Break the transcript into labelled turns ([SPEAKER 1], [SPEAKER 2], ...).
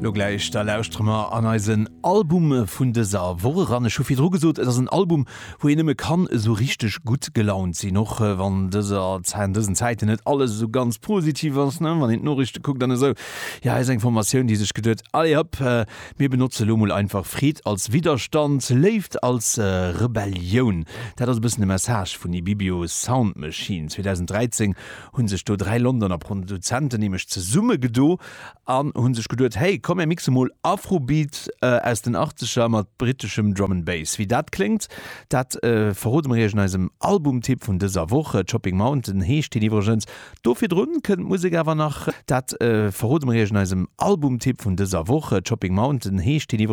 [SPEAKER 1] Lo gläich, da lauschtere mer an eisen Album vun dëser Woch eran. Ech hu virdru gesot, et ass en Album, wou een nëmme kann esou richteg gutt gelaunt sinn, och wann dëser an dësen Zäiten net alles esou ganz positiv ass, ne, wann een d'Noriichte kuckt an esou. Jo, hei ass eng Formatioun, déi sech geduet, allez hopp, mir benotze lo mol einfach Freed als Widderstand, Léift als Rebellioun. Dat ass e bëssen de Message vun Ibibio Sound Machine. 2013 hu sech do 3 Londoner Produzenten nämlech zesummegedo An hunn sech geduet, hey, komm mir mixe mol Afrobeat aus den Achtzeger mat britteschem Drum and Bass. Wéi dat kléngt, dat verrode mer iech an eisem Albumtipp vun dëser Woch. Chopping Mountain heescht deen iwwregens. Do virdrun kënnt d'Musek awer nach. Dat verrode mer iech an eisem Albumtipp vun dëser Woch. Chopping Mountain heescht deen iwwregens.